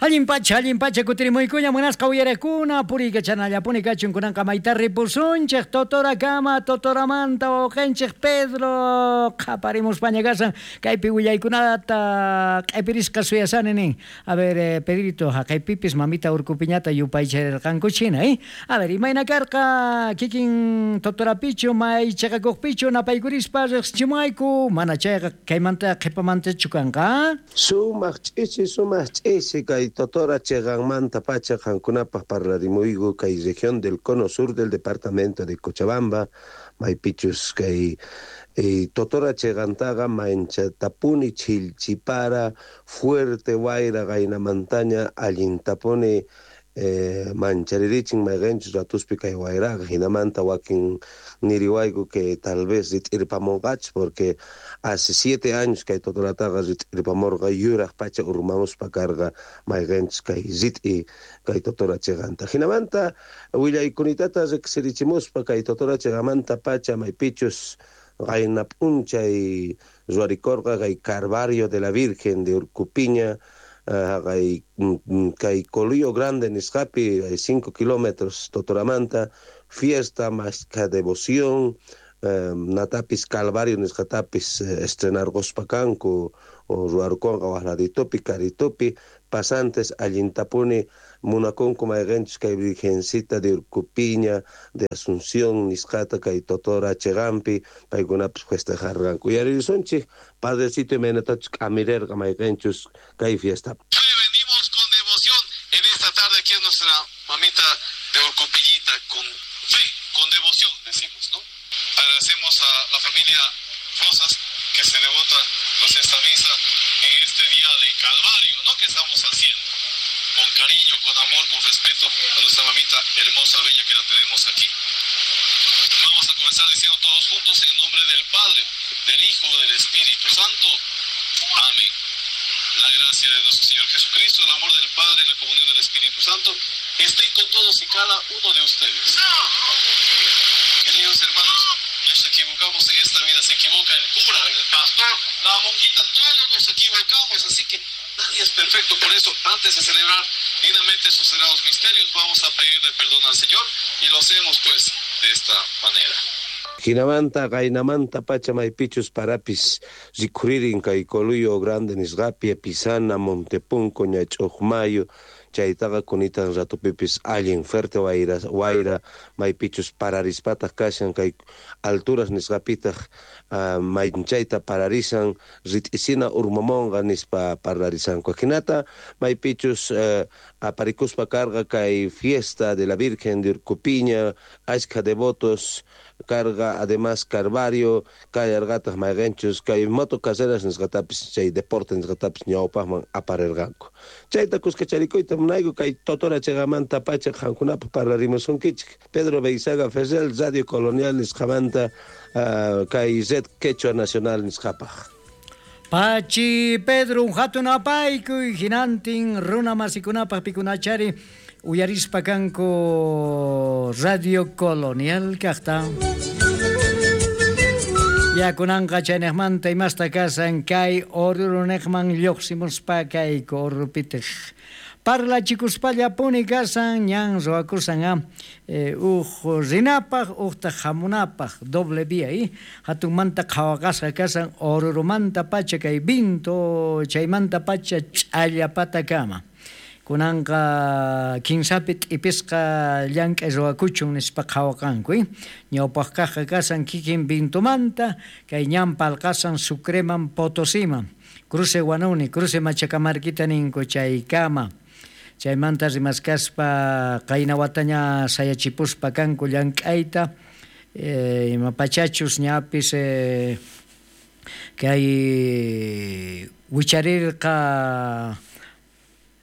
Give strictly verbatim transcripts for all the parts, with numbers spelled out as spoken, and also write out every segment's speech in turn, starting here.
Allin pacha, allin pacha kutirimuykuña munasqa uyarekuna puriykachanallapuni kachun kunanqa mayta ripusunchik Totorakama Totoramanta wawqinchik Pedro qhaparimuspaña kasan kaypi willaykunata q'ipirisqa suyasani nin. A ver, eh, Pedrito, haqaypipis mamita urkupiñata yupaycharirqankuchina, eh? A ver, imayna karqa kikin Totorapichu may chiqakuqpichu napaykurispa riqsichimuwayku mana chayqa kaymanta qhipamantachu kanqa? Sumaq ch'ichi, sumaq ch'ichi kay Totora chiqanmanta pacha qankunapaq parlarimuyku kay región del cono sur del departamento de Cochabamba maypichus kay eh, Totora chiqantaqa manchatapuni chilchipara fuerte wayra qaynamantaña allintapuni eh, mancharirichin mayqinchus ratuspi kay wayraqa hinamanta wakin niriwayku que tal vez rit'irpamunqachus porque hace siete años kay Totorataqa rit'irpamurqa yuraq pacha urmamuspa karqa mayqinchus kay rit'i kay Totora chiqanta hinamanta willaykunitata riqsirichimuspa kay Totora chiqamanta pacha maypichus qayna p'unchay ruwarikurqa kay Calvario de la Virgen de Urcupiña kay kay Coluyo Grande nisqapi hay cinco kilómetros Totoramanta fiesta mashkha devoción eh, natapis Calvario nisqatapis eh, estrenarquspa kanku o ruwarkunqa waqladitupi karitupi pasantes allintapuni munakunku mayqinchus kay Virgencita de Urcupiña de Asunción nisqata kay Totora chiqanpi paykunapis festejarqanku uyaririsunchik padrecito imaynatachus k'amirirqa mayqinchus kay fiesta. Venimos con devoción en esta tarde aquí en nuestra mamita de Urcupillita con fe, con devoción decimos, ¿no? Agradecemos a la familia Rosas que se devota pues esta misa en este día de Calvario, ¿no? Que estamos haciendo con cariño, con amor, con respeto a nuestra mamita hermosa, bella que la tenemos aquí. Vamos a comenzar diciendo todos juntos en nombre del Padre, del Hijo, del Espíritu Santo. Amén. La gracia de nuestro Señor Jesucristo, el amor del Padre y la comunión del Espíritu Santo estén con todos y cada uno de ustedes. Queridos hermanos, nos equivocamos en esta vida, se equivoca el cura, el pastor, la monjita, todos nos equivocamos, así que nadie es perfecto. Por eso, antes de celebrar dignamente sus sagrados misterios, vamos a pedirle perdón al Señor y lo hacemos pues de esta manera. Hinamanta qaynamanta pacha maypichus parapis rikhuririn kay Coluyo Grande nisqapi Pisana Montepunco Ñach'uqmayu chaytaqa kunitan ratupipis allin fuerte wayra wayra maypichus pararispataq kashan kay alturas nisqapitaq uh, maychayta pararisan rit'isina urmamunqa nispa parlarisanku hinata maypichus uh, aparikuspa karqa kay fiesta de la Virgen de Urcupiña ashkha devotos carga además Calvario kallarqataq mayqinchus kay moto carreras nisqatapis chay deporte nisqatapis ñawpaqman aparirqanku chayta kuskacharikuyta munayku kay Totora chiqamanta pacha qankunapaq parlarimusunkichik Pedro Beizaga Ferrel Radio Colonial nisqamanta uh, kay Red Quechua Nacional nisqapaq. Pachi Pedro un hatun apaykuy hinantin runa masikunapaq pikunachari uyarispa kanku Radio Colonial kaqta. Ya kunanqa chaynejmanta imasta kasan kay orurunejman lluqsimuspa kayku orupitej. Parlachikuspallapuni kasan ñan ruwakusan a eh, uj rinapaq ujtaq hamunapaq doble vía eh? Hatunmanta qhawaqasqa kasan orurumanta pacha kay vinto chaymanta pacha ch'allapatakama. Kunanqa kinsapi t'ipisqa llank'ay ruwakuchun nispa qhawaqanku eh? Ñawpaq kaqqa kasan kikin vintumanta kay ñan palqasan Sucreman Potosiman cruce Guanuni, cruce Machacamarquita ninku chaykama. Chaymanta rimaskaspa qayna wataña sayachipuspa kanku llank'ayta eh, imapachachus ñapis eh, kay wicharirqa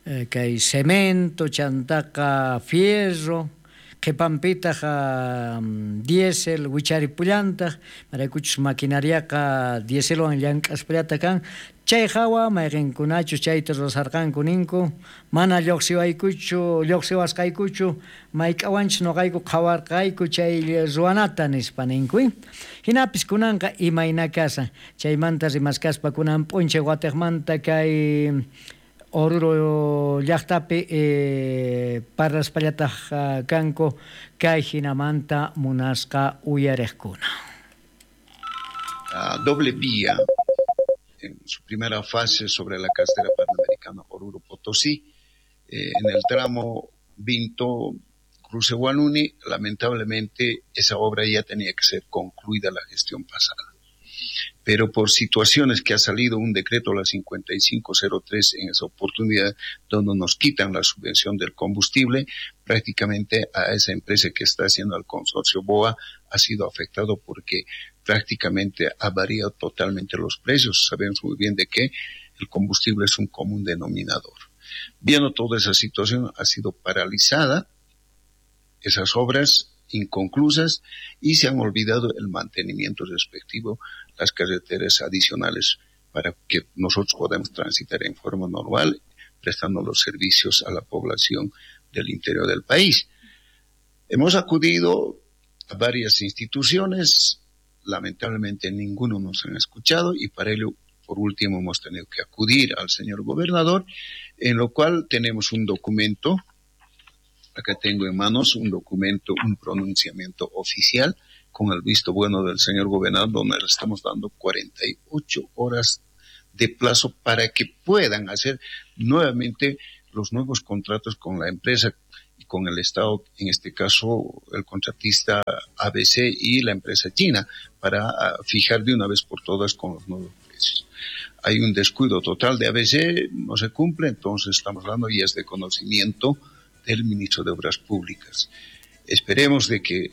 eh, kay cemento chantaqa fierro qhipanpitaq um, diésel wicharipullantaq maraykuchus maquinariaqa dieselwan llank'aspullata kan chay hawa mayqinkunachus chayta rurasarqanku ninku mana lluqsiwaykuchu lluqsiwasqaykuchu mayk'awanchus nuqayku qhawarqayku chay ruwanata nispa ninku. Hinapis kunanqa imayna kasan chaymanta rimaskaspa kunan p'unchay watiqmanta kay Oruro llaqtapi eh, parlaspallataj kanku kay hinamanta munasqa uyariqkuna. La doble vía en su primera fase sobre la carretera panamericana Oruro Potosí, eh, en el tramo Vinto Cruce Huanuni, lamentablemente esa obra ya tenía que ser concluida la gestión pasada. Pero por situaciones que ha salido un decreto, la cincuenta y cinco cero tres, en esa oportunidad, donde nos quitan la subvención del combustible, prácticamente a esa empresa que está haciendo el consorcio B O A ha sido afectado porque prácticamente ha variado totalmente los precios. Sabemos muy bien de que el combustible es un común denominador. Viendo toda esa situación, ha sido paralizada esas obras inconclusas y se han olvidado el mantenimiento respectivo, las carreteras adicionales para que nosotros podamos transitar en forma normal, prestando los servicios a la población del interior del país. Hemos acudido a varias instituciones, lamentablemente ninguno nos han escuchado y para ello, por último, hemos tenido que acudir al señor gobernador, en lo cual tenemos un documento. Acá tengo en manos un documento, un pronunciamiento oficial con el visto bueno del señor gobernador, donde le estamos dando cuarenta y ocho horas de plazo para que puedan hacer nuevamente los nuevos contratos con la empresa y con el Estado, en este caso el contratista A B C y la empresa china, para fijar de una vez por todas con los nuevos precios. Hay un descuido total de A B C, no se cumple, entonces estamos hablando y es de conocimiento del ministro de Obras Públicas. Esperemos de que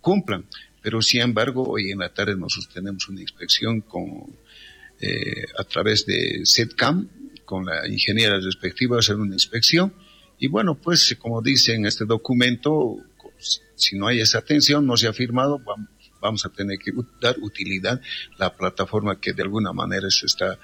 cumplan, pero sin embargo hoy en la tarde nosotros tenemos una inspección con, eh, a través de SEDCAM, con la ingeniera respectiva, hacer una inspección y bueno, pues como dice en este documento, si no hay esa atención, no se ha firmado, vamos a tener que dar utilidad a la plataforma que de alguna manera se está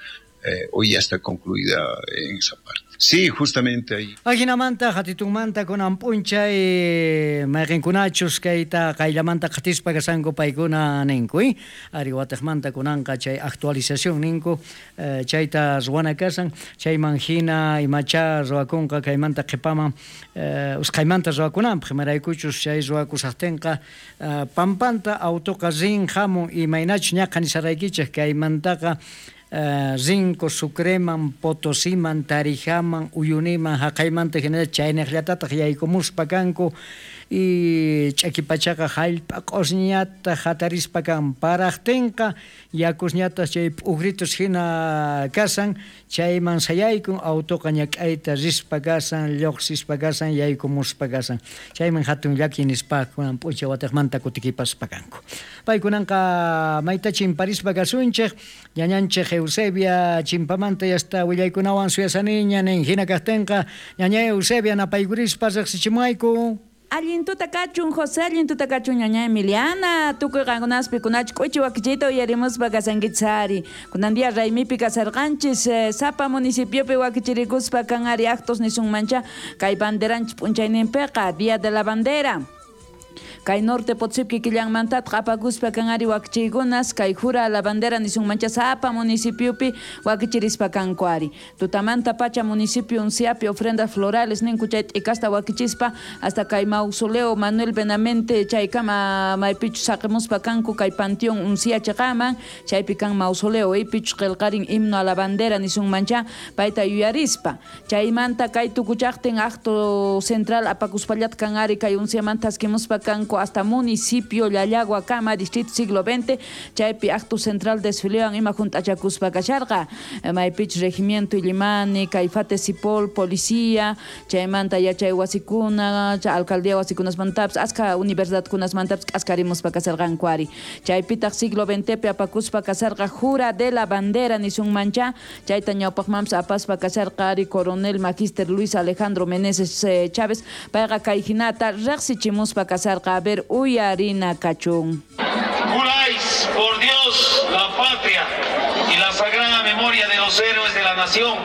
Eh, hoy ya está concluida en esa parte. Sí, justamente ahí. Ajinamanta, hatitunmanta, kunan p'unchay, mayqinkunachus kayta qayllamanta qatispa kasanku paykuna ninku, eh? Ari wataqmanta kunanqa chay actualización ninku, eh, chayta ruwana kasan, chayman hina imacha ruwakunqa kaymanta qhipaman, eh, usqhaymanta ruwakunanpaq, imaraykuchus chay ruwakusaqtinqa, eh, pampanta autoqa rin hamun imaynachus ñaqa nisaraykichej kaymantaqa Uh, Rinco, Sucreman, Potosiman, Tarijaman, Uyuniman, haqaymanta hinalla chaynaqllatataq yaykumuspa kanku y ch'akipachaqa hallp'a q'usñata hatarispa kan paraqtinqa yakusñataq chay p'ujritus hina kasan chayman sayaykun autoqa ñak'ayta rispa kasan lluqsispa kasan yaykumuspa kasan chayman hatun llaki nispa kunan p'unchay wataqmanta kutikipaspa kanku. Paykunanqa mayta chimparispa kasunchej ñañanchej Eusebia chimpamanta yasta willaykunawan suyasaniña nin hina kaqtinqa ñaña Eusebia napaykurispa riqsichimuayku. Allin tuta kachun José, allin tuta kachun ñaña Emiliana, tukuy qankunaspi kunach k'uchi wakichiyta uyarimuspa kasankichari. Kunan día raymipi kasarqanchis, eh, sapa municipiopi wakichirikuspa kan ari actos nisunmancha kay banderanchis p'unchayninpiqa, Día de la Bandera. Kay norte Potosí killanmantataq apakuspa kan ari wakichiykunas kay jura la bandera nisunmancha sapa municipiopi wakichirispa kanku ari. Tutamanta pacha municipio Unciapi ofrendas florales ninku chay t'ikasta wakichispa hasta kay mausoleo Manuel Benamente chaykama maypichus saqimuspa kanku kay panteón Uncia chaqaman chaypi kan mausoleo ipichus qillqarin himno a la bandera nisunmancha payta yuyarispa. Chaymanta kay tukuchaqtin acto central apakuspallat kan ari kay Unciamanta askimuspa kanku hasta municipio Llallagua kama distrito siglo veinte chaypi acto central desfilean ima juntachakuspa kasharqa maypich regimiento Illimani Caifate Sipol policía chaymanta yachay wasikuna alcaldía wasikunasmantapas aska universidadkunasmantapas k'askarimuspa kasarqanku ari chaypitaq siglo veinte apakuspa kasarqa jura de la bandera nisunmancha chayta ñawpaqmanpas apaspa kasarqa ari coronel magister Luis Alejandro Meneses eh, Chávez payqa kay hinata riqsichimuspa kasarqa. A ver, uyarina kachun. Juráis por Dios, la patria y la sagrada memoria de los héroes de la nación,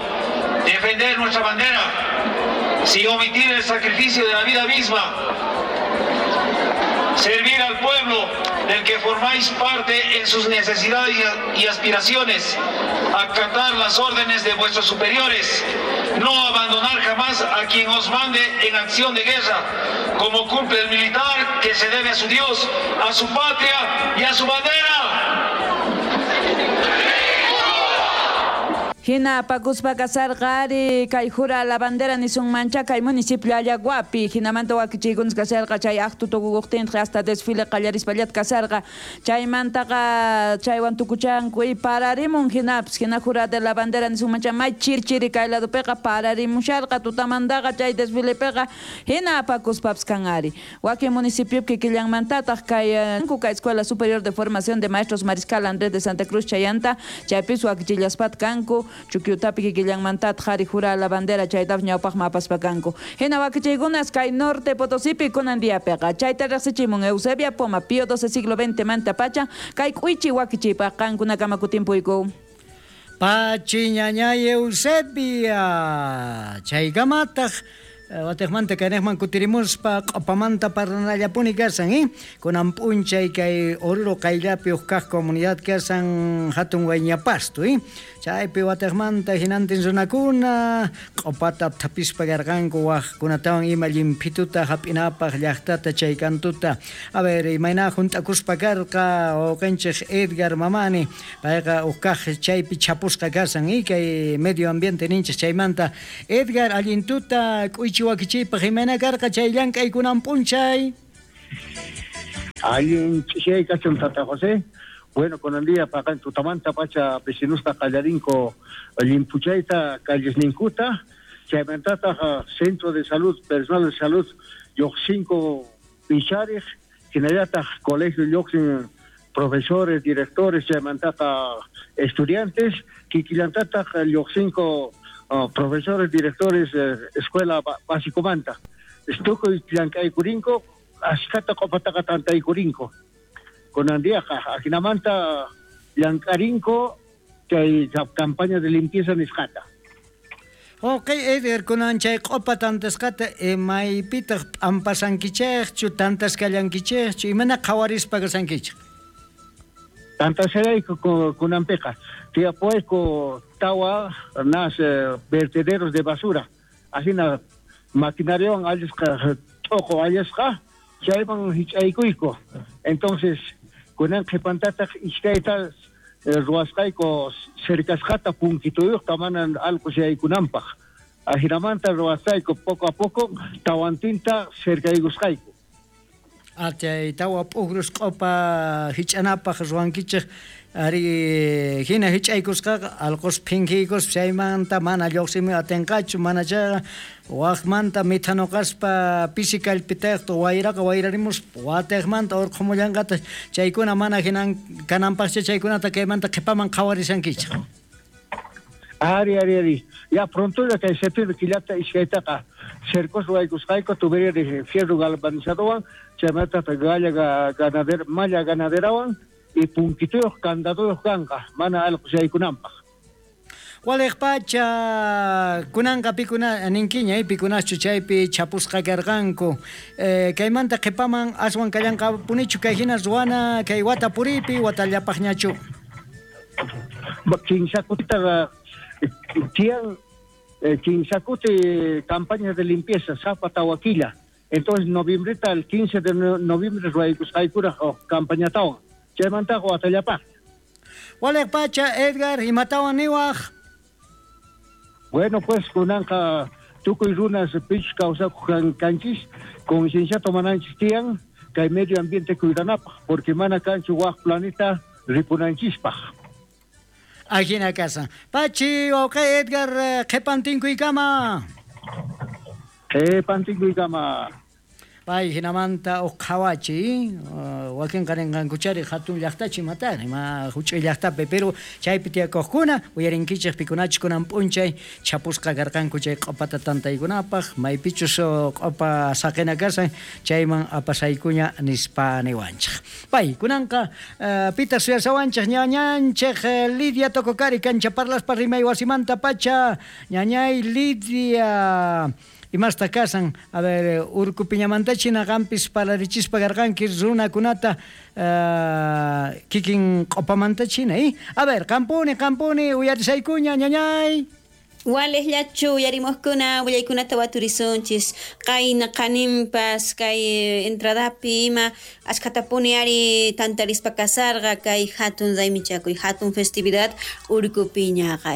defender nuestra bandera, sin omitir el sacrificio de la vida misma, servir al pueblo del que formáis parte en sus necesidades y aspiraciones, acatar las órdenes de vuestros superiores No abandonar jamás a quien os mande en acción de guerra, como cumple el militar que se debe a su Dios, a su patria y a su bandera. Hina apakuspa kasarqa ari kay jura la bandera nisunmancha kay municipio Allaguapi hinamanta wakichiykunas kasarqa chay acto tukukuqtintaq hasta desfile qallarispallat kasarqa chaymantaqa chaywan tukuchanku y pararimun hinapis hina jura de la bandera nisunmancha may chirchiri kay ladopiqa pararimusharqa tutamantaqa chay desfilepiqa hina apakuspapis kan ari wakin municipiopi kikillanmantataq kay kay Escuela Superior de Formación de Maestros Mariscal Andrés de Santa Cruz chayanta chaypis wakichillaspat kanku Chukyutapi kikillanmantataq qhari jura la bandera chaytaq ñawpaqman apaspa kanku. Hina wakichiykunas kay norte Potosipi kunan diapiqa chayta riqsichimun Eusebia Poma Pío doce siglo veinte manta pacha kay k'uychi wakichiypaq qankunakama kutimpuyku. Pachi ñañay Eusebia chaykamataq watejmanta kaynejman kutirimuspa q'opamanta parlanallapuni kasan, eh? Kunan p'unchay kay Oruro qayllapi uj kaq comunidad kasan hatun Wayñapasto, eh? Chaypi watejmanta hinantin runakuna q'opata thapispa karqanku wajkunatawan ima llimphituta hap'inapaq llaqtata chay kantuta. A ver, imayna junt'akuspa karqa wawqinchik Edgar Mamani, payqa uj kaq chaypi chapusqa kasan, eh? Kay medio ambiente ninchik chaymanta. Edgar, allintuta k'uychi wakichiypaq imayna karqa chay llank'aykunan p'unchay. Allin ch'ishay kachun Tata José. Bueno, kunan día paqan tutamanta pacha vecinusta qallarinko llimpuchayta callesninkuta chaymantataq centro de salud, personal de salud lluqsinko pichariq hinallataq colegio lluqsin profesores, directores chaymantaqa estudiantes kikillantataq lluqsinko Uh, profesores, directores, eh, escuela básicomanta. Tukuy llank'aykurinko, ashkata q'opataqa tantaykurinko. Kunan diaqa ajinamanta llank'arinko chay campaña de limpieza nisqata. Ok, Edgar, kunan chay q'opa tantasqata maypitaq p'ampasankichikchu, tantasqallankichikchu, imana qhawarispa kasankichik? Tantasqallayku kunanpiqa. Tiyapuayku tawa nas eh, vertederos de basura. Asina maquinariawan allasqa t'uqu allasqa chayman hich'aykuyku. Entonces kunan qhipantataq iskayta eh, ruwasqayku cercasqata punkituyuqta mana allqu yaykunanpaq. Ajinamanta ruwasqayku poco a poco tawantinta cercaykusqayku. Chay tawa p'ukrus q'opa hich'anapaq ruwankichik ari hina hich'aykusqaqa allqus phinkiykuspa chaymanta mana lluqsimuy atinqachu mana chayqa waqmanta mithanuqaspa pisi kallpitayqta wayraqa wayrarimuspa watiqmanta urqhumullanqataq chaykuna mana hinan kananpaqcha chaykunata kaymanta qhipaman qhawarishankichik. Ari, ari, ari. Ya pronto ya kay septiembre killata iskaytaqa cercos ruwaykusqayku tubería de fierro galvanizadowan chaymanta galla ganadera malla ganaderawan y punkituyuq candaduyuq kanqa mana allqu yaykunanpaq. Waliq pacha kunanqa pikuna ninkiña pikunachu chaypi chapusqa karqanku eh, kaymanta qhipaman aswan kallanqapunichu kay hina ruwana kay wata puripi watallapaqñachu. Kinsa kutitaqa tiyan kinsa kuti campañas de limpieza sapa tawa killa. Entonces noviembreta el quince de noviembre ruwaykusqaykuraq campañatawan chaymantaqa watallapaq. Waliq pacha Edgar imatawan niwaq. Bueno, pues kunanqa tukuy runas pich kawsakuq kanchis conciencia tomananchis tiyan kay medio ambiente cuidanapaq porque mana kanchu waq planeta ripunanchispaq. Ajina casa. Pachi, ok, Edgar, qhipantinkuykama. Qhipantinkuykama. Pay hinamanta uq qhawachi, wakin qarinqankuchari hatun llaqtachi matari, ma huch'uy llaqtapi, pero chaypi tiyakuqkuna uyarinkichik pikunachik kunan p'unchay chapusqa karqanku chay q'opata tantaykunapaq, maypichus q'opa saqina kasan chayman apasaykuña nispa niwanchik. Pay kunanqa pitaq suyasawanchik ñañanchik Lidia Tococari kancha parlaspa rimay wasimanta pacha ñañay Lidia. Imasta kasan, a ver, urkupiñamantachina qampis parlarichispa karqanki runakunata uh, kikin q'opamantachina, eh? A ver, qampuni, qampuni, uyarisaykuña, ñañay. Walejllachu uyarimuqkuna willaykunata waturisunchis qayna qaninpas kay entradapi ima ashkhatapuni ari tantarispa kasarqa kay hatun raymichakuy hatun festividad Urkupiñaqa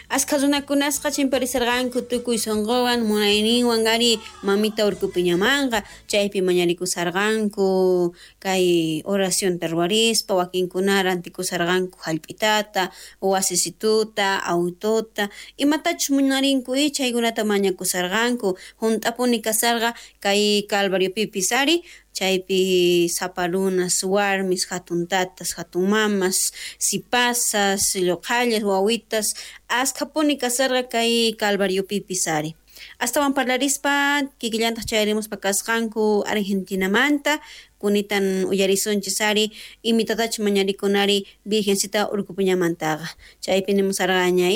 Askha runakunasqa chimparisarqanku tukuy sunquwan munayninwan ari mamita Urkupiñamanqa chaypi mañarikusarqanku kay oracionta ruwarispa wakinkuna rantikusarqanku hallp'itata wasisituta autota imatachus munarinku chaykunata mañakusarqanku hunt'apuni kasarqa kay Calvariopipis ari chaypi sapa runas warmis hatun tatas hatun mamas sipasas lluqhallas wawitas askhapuni kasarqa kay Calvariopipis ari astawan parlarispa kikillantaq chayarimuspa kasqanku Argentinamanta kunitan uyarisunchis ari imitatachus mañarikunari Virgencita Urkupiñamantaqa chaypi nimusarqaña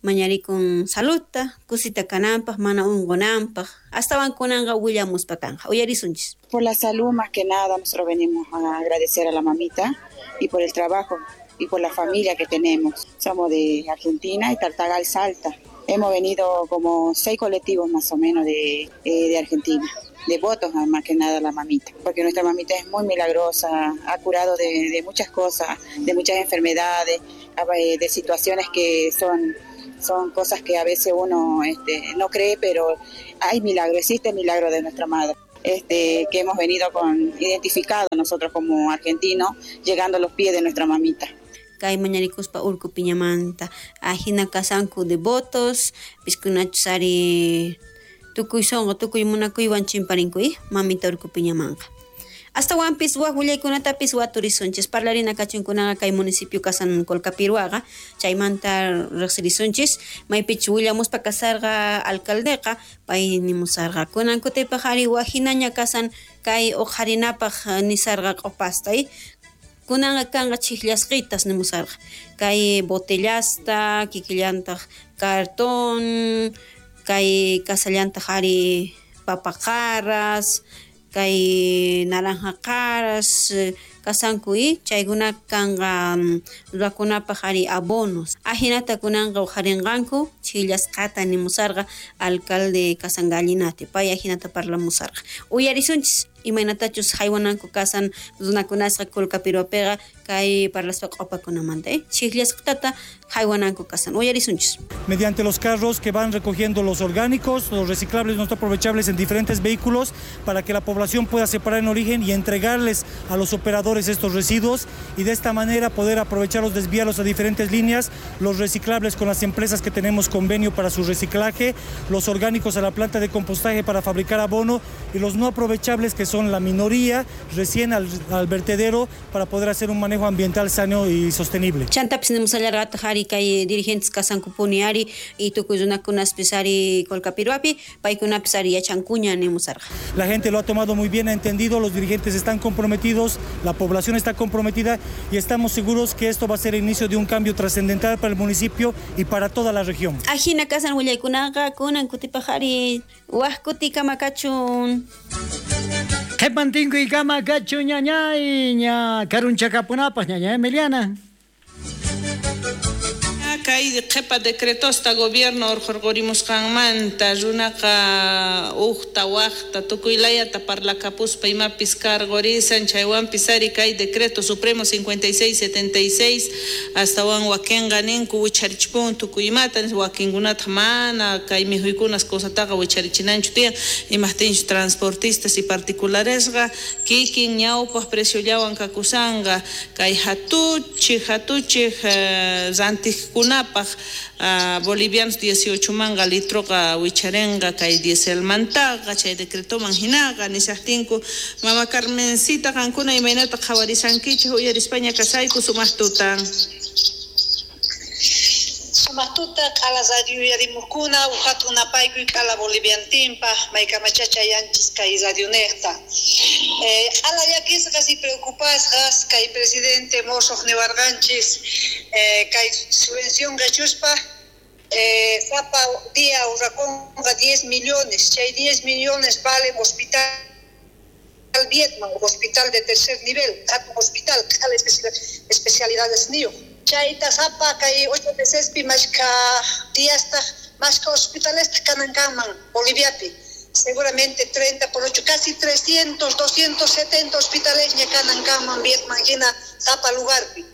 mañarikun saludta kusita kananpaq mana unqunanpaq astawan kunanqa willamuspa kanqa uyarisunchis. Por la salud más que nada nosotros venimos a agradecer a la mamita y por el trabajo y por la familia que tenemos. Somos de Argentina y Tartagal, Salta. Hemos venido como seis colectivos más o menos de, eh, de Argentina, devotos más que nada a la mamita, porque nuestra mamita es muy milagrosa, ha curado de, de muchas cosas, de muchas enfermedades, de situaciones que son... Son cosas que a veces uno este, no cree, pero hay milagro, existe el milagro de nuestra madre, este, que hemos venido con identificado nosotros como argentinos, llegando a los pies de nuestra mamita. Kay mañarikuspa Urkupiñamanta ajina kasanku devotos, piskunachus ari tukuy sunqu tukuy munakuywan chimparinku mamita Urkupiñamanqa. Astawanpis wak willaykunatapis waturisunchis parlarina kachunkunaqa kay municipio kasan Colcapiruaqa chaymanta riqsirisunchis maypichus willamuspa kasarqa alcaldeqa pay nimusarqa kunan kutipaq ari wajinaña kasan kay uqharinapaq nisarqa q'upasta kunanqa kanqa chhiqllasqitas nimusarqa kay botellasta kikillantaq cartón kay kasallantaq ari papaqaras kay naranja qaras kasanku chaykuna kanqa ruwakunapaq ari abonos ajinata kunanqa uqharinqanku chhillasqata nimusarqa alcalde Kasangallinati pay ajinata parlamusarqa uyarisunchis imaynatachus haywananku kasan runakunasqa Colcapiruapiqa kay parlaspa q'upakunamanta eh chhillasqatata haywananku kasan uyarisunchis. Mediante los carros que van recogiendo los orgánicos, los reciclables no aprovechables en diferentes vehículos para que la población pueda separar en origen y entregarles a los operadores estos residuos y de esta manera poder aprovecharlos, desviarlos a diferentes líneas, los reciclables con las empresas que tenemos convenio para su reciclaje, los orgánicos a la planta de compostaje para fabricar abono y los no aprovechables que son la minoría recién al, al vertedero para poder hacer un manejo ambiental sano y sostenible. Chantapis nimusallarqataq ari kay dirigentes kasankupuni ari y tukuy runakunaspis ari Colcapiruapi paykunapis ari yachankuña nimusarqa. La gente lo ha tomado muy bien, ha entendido, los dirigentes están comprometidos, la población está comprometida y estamos seguros que esto va a ser el inicio de un cambio trascendental para el municipio y para toda la región. Ajina kasan willaykunaqa kunan kutipaq ari waj kutikama kachun. Qhipantinkuy kama kachun ñañay ña karunchakapunapaq ñaña Emiliana. Kay qhipa decretosta gobierno urqurqurimusqanmanta runaqa uqta waqta tukuylayata parlakapuspa imapis karqurisan chaywanpis ari kay decreto supremo cincuenta y seis setenta y seis astawan wakinqa ninku wicharichpun tukuy imata wakinkunataq mana kay mikhuykunas cosataqa wicharichinanchu tiyan imaqtinchu transportistas y particularesqa kikin ñawpaq preciollawan kakusanqa kay hatuchij hatuchij rantiqkuna Paj, uh, bolivianos dieciocho manga litroqa wicharenqa kay dieselmantaqa chay decretoman hinaqa nishaqtinku mama Carmencita qankuna imaynata qhawarisankichik uyarispaña kasayku sumaq tutan. Sumaq tuta q'ala radio uyarimuqkuna uqhatun napaykuy q'ala boliviantinpaq maykamachacha yanchis kay radionejta. Eh, q'ala llakisqas y preocupasqas kay presidente mosoq niwarqanchis eh, kay subvención qechuspa eh, sapa día urrakunqa diez millones, chay diez millones valen hospital Vietnam, hospital de tercer nivel, hatun hospital, q'ala especialidades niyo. Chayta sapa kay ocho mesespi mashka diastaq mashka hospitalesta kanan kanman Boliviapi. Seguramente treinta por ocho, casi trescientos, doscientos setenta hospitales ña kanan kanman Vietnam hina sapa lugarpi.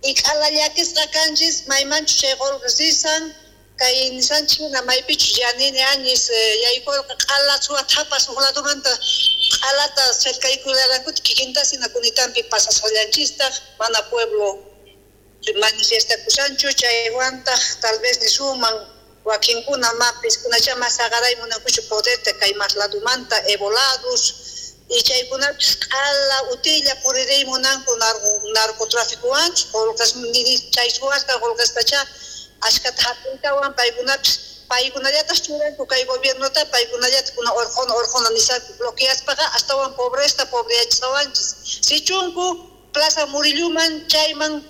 Y q'ala llakisqa kanchis maymanchu chay qolqes risan, kay nisanchis hina maypichus yanini añis yaykurqa q'ala suwa thapas huk ladumanta q'alata cercaykullarankuta kikintas hina kunitampi pasasqallanchistaq mana pueblo manifestakushanchu chaywantaq tal vez nisuman wakinkuna mapis kunacha mas aqaray munankuchu poderta kay mas ladumanta evolados y chaykunapis q'ala utilla puririy munanku narcotraficuwanchus qolqes chay suwasqa qolqestacha ashkata hap'intawan paykunapis paykunallatas churanku kay gobiernota paykunallata kuna orqona orqona nishanku bloqueaspaqa astawan pobresta pobreyachisqawanchis sichunku Plaza Murilluman chayman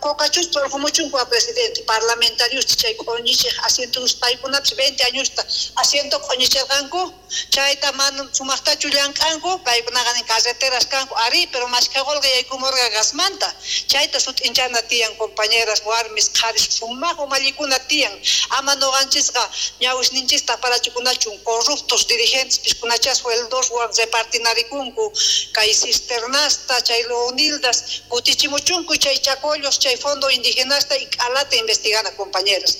Cocachus orqumuchunku a presidente parlamentarios chay q'uñichiq asientos paykunapis veinte añosta asiento q'uñichirqanku chayta mana sumaqtachu llank'anku paykunaqa nin carreteras kanku ari pero mashkha qolqe yaykumurqa gasmanta chayta sut'inchana tiyan compañeras warmis qharis sumaq umallikuna tiyan ama nuqanchisqa ñawisninchista parachikunachun corruptos dirigentes piskunacha sueldoswan repartinarikunku kay cisternasta chay leonildas kutichimuchunku chay chaco chay fondo indigenasta y q'alata investigana compañeros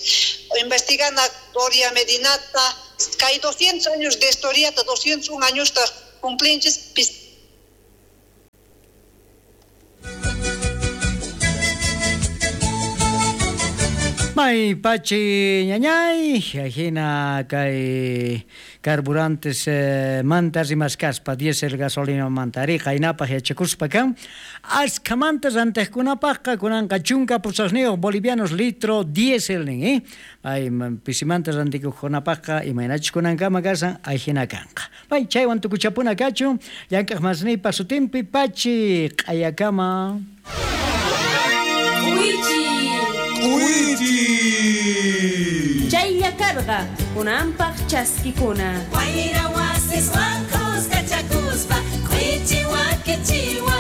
investigana Doria Medinata kay doscientos años de historia doscientos un años cumplinchis. May pachi ñañay, ajina kay carburantes eh, manta rimascaspa, diésel gasolina manta ariqa hinapaq yachakuspa kan askha mantas antiqkunapaqqa kunanqa chunka pusaqniyuq bolivianos litro diésel nin, eh? Ay pisimanta rantikuqkunapaqqa imaynachus kunankama kasan ajina kanqa. May chaywan tukuchapuna kachun llank'aq masniypa sutinpi pachi q'ayakama. Chaylla karqa kunanpaq chaskikuna. Wayra wasiswan kuskachakuspa k'uichi wakichiwa.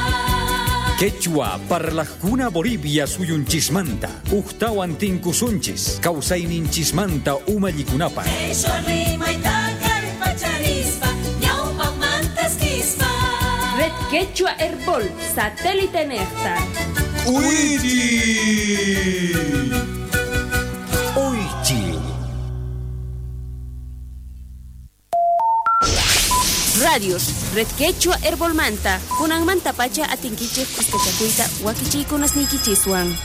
Quechua parlajkuna Bolivia suyunchismanta uktawan tinkusunchis kawsayninchismanta umallikunapaq. Qhishwa rimayta kallpacharispa ñawpaqmantaskispa. Red Quechua Herbol satélite nejta. Uichi. Uichi. Radios, Red Quechua Herbolmanta, kunanmanta pacha atinkichik kuskachakuyta wakichiykunasniykichiswan.